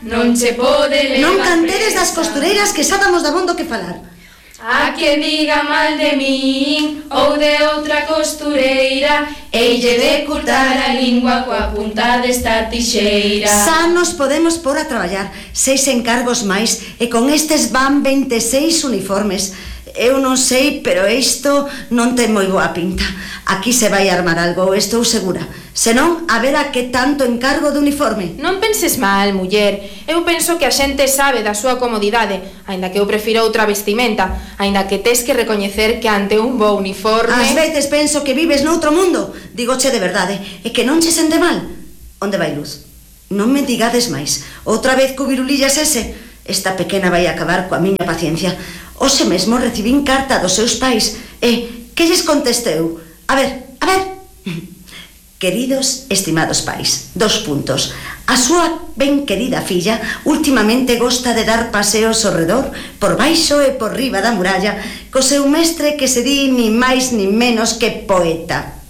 non che pode levar. Non cantedes das costureiras que xa damos dabondo que falar. A que diga mal de min ou de outra costureira, eille de cortar a lingua coa punta desta tixeira. Xa nos podemos pôr a traballar, 6 encargos máis, e con estes van 26 uniformes. Eu non sei, pero isto non ten moi boa pinta. Aquí se vai armar algo, estou segura. Senón, a ver a que tanto encargo de uniforme. Non penses mal, muller. Eu penso que a xente sabe da súa comodidade, aínda que eu prefiro outra vestimenta, aínda que tes que recoñecer que ante un bo uniforme... Ás veces penso que vives noutro mundo. Digoche de verdade, e que non che sente mal. Onde vai Luz? Non me digades máis. Outra vez co virulillas ese? Esta pequena vai acabar coa miña paciencia. Hoxe mesmo recibín carta dos seus pais. E, que lles contesteu? A ver. Queridos, estimados pais, 2 puntos. A súa ben querida filla últimamente gosta de dar paseos ao redor, por baixo e por riba da muralla, co seu mestre que se di ni máis ni menos que poeta.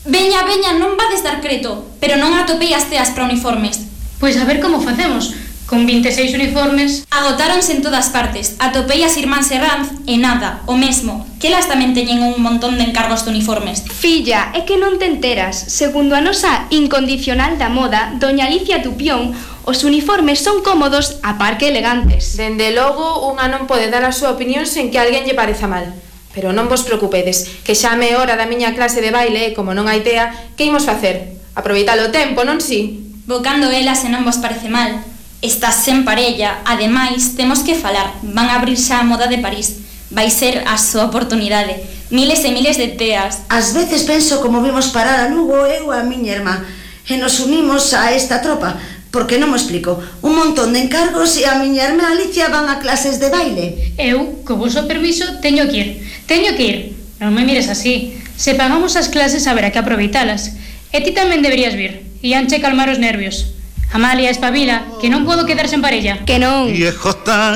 Veña, non vades dar creto, pero non atopei as teas para uniformes. Pois a ver como facemos. Con 26 uniformes... Agotáronse en todas partes. Atopei as irmáns Herranz e nada, o mesmo. Que elas tamén teñen un montón de encargos de uniformes. Filla, é que non te enteras. Segundo a nosa incondicional da moda, doña Alicia Tupión, os uniformes son cómodos a par que elegantes. Dende logo, unha non pode dar a súa opinión sen que alguén lle pareza mal. Pero non vos preocupedes, que xa me hora da miña clase de baile e, como non hai tea, que imos facer? Aproveitar o tempo, non si? Bocando elas se non vos parece mal. Estás sen parella, ademais, temos que falar. Van a abrir xa a moda de París. Vai ser a súa oportunidade. Miles e miles de teas. Ás veces penso como vimos parar a Lugo eu e a miña irmá, e nos unimos a esta tropa, porque non me explico. Un montón de encargos e a miña irmá Alicia van a clases de baile. Eu, co voso permiso, teño que ir. Non me mires así. Se pagamos as clases, haberá que aproveitalas. E ti tamén deberías vir. Ianche calmar os nervios. Amalia, espabila, que non podo quedar sen parella. Que non. Viejo tan